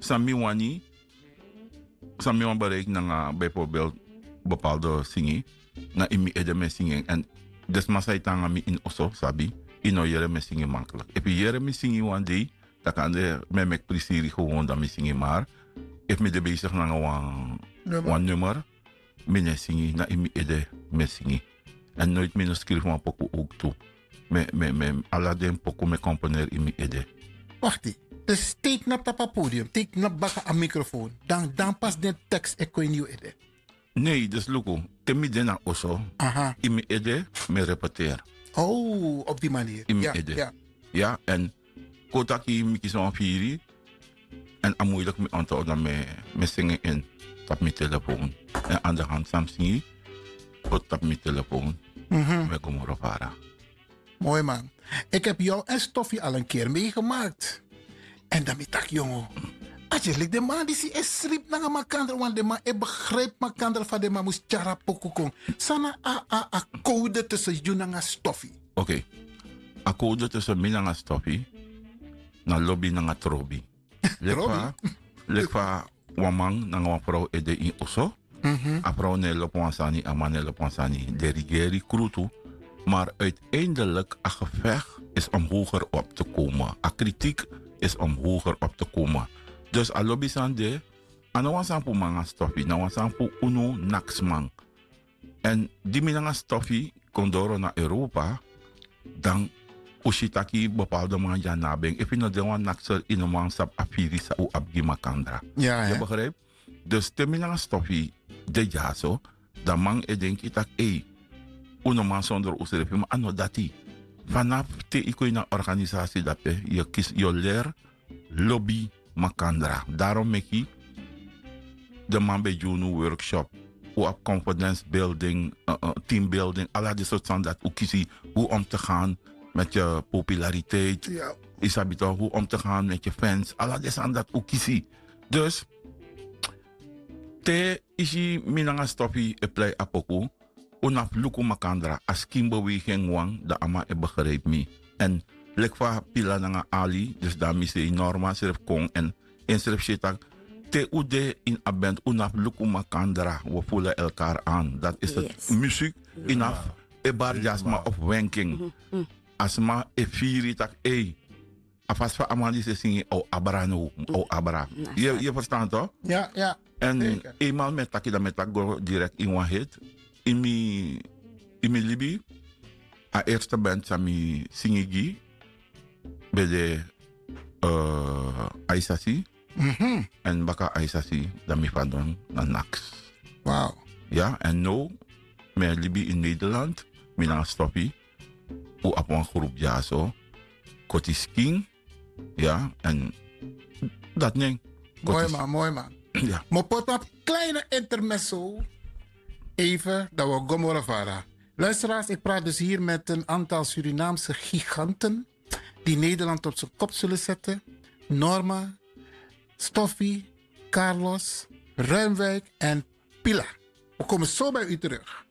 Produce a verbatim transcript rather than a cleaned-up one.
San mi wani, san mi wani bereiki nanga bijvoorbeeld bepaalde singi, na ini mi ede mi e singi en. En den sma san e tan nanga mi ini oso sabi, yu no yere mi e singi makkelijk. Efu yu yere mi singi wan dei, dan kan de mi e meki prisiri gewoon dan mi singi. Maar efu mi de bezig nanga wan nummer, mi no e singi, na ini mi ede mi e singi. En noiti mi no skrifi wan poku ook tu. Mi e, mi e, mi e, ala den poku mi e komponeri ini mi ede. Wakti. Dus teken na tapu a podium, teken na baka a microfoon. Dan, dan pas den tekst e kon ini yu ede. Nee, dus luku, te mi de na oso, ini mi ede mi e repeteri. Oh, op die manier. Ini mi ede. Ya, en kon taki mi kisi wan firi, en a moeilijk mi onthoud dan mi e, mi e singi en tapu mi telefoon. En aan de hand san mi singi, kon tapu mi telefoon. Mi e go moro fara. Mooi man. Ik heb jou en Stoffie al een keer meegemaakt. En dan mi taki, jongen, a yu lik den man disi e sribi nanga makandra, want den man e begrijp makandra fa den man mus tyari a poku kon. San na a, a, a code tussen yu nanga Stoffie? Oké. A code tussen mi nanga Stoffie na lobi nanga trobi. Leki fa, leki fa wan man nanga wan vrouw e de ini oso. A vrouw no e lobi wan sani, a man no e lobi wan sani. Den regeri krutu. Maar uiteindelijk, a gevecht is om hoger op te komen. A kritiek is om hoger op te komen. Dus a lobi sani de, a no wan sani fu mi nanga Stoffie, na wan sani fu unu naksman. En di mi nanga Stoffie kon doro na Europa, dan un si taki bepaalde man dya na ben. Efu yu no de wan nakser, yu no man sabi a firi san un abi gi makandra. Ya, ya. Yu begrijp? Dus te mi nanga Stoffie de dyaso, dan man e denki taki, ei, un no man sondro unsrefi, ma a no dati. Vanaf te yu kon ini a organisasi dape, yu kisi, yu o leri lobi makandra. Daarom meki den man ben gi unu workshop. Un abi confidence building, eh, eh, team building, ala den sortu sani dati un kisi, hoe om te gaan met je populariteit. Ya. Yu sabi toch, hoe om te gaan met je fans. Ala den sani dati un kisi. Dus te yu si mi nanga Stoffie e plei a poku, un no abi luku makandra, a skinbeweging wan, dan a man e begrijp mi. En leki fa Pila nanga Ali, dus dan mi sei Norma srefi kon en ensrefi si taki, te un de ini a band, un no abi luku makandra, we voelen elkaar aan. Dat is het. Muziek, yu no abi e bari gi a sma of wenking. A sma e firi taki, ei, a fasi fa a man disi e singi, a o abra now, a o abra. Yu e ferstan toch? Ya, ya. En eenmaal mi e taki, dan mi e taki go direct ini wan hit. Ini mi, ini mi libi, a eerste band san mi singi gi ben de, eh, Aisasi. En baka Aisasi, dan mi fadon na Naks. Wow. Ya, en now mi e libi ini Nederland, mi nanga Stoffie. Un abi wan groep dyaso, Koti Skin. Ya, en dati nen. Mooi man, mooi man. Ya. Mi o poti wan kleine intermezzo. Even, dan wi o go moro fara. Luisteraars, ik praat dus hier met een aantal Surinaamse giganten die Nederland op zijn kop zullen zetten. Norma, Stoffie, Carlos, Ruimwijk en Pila. We komen zo bij u terug.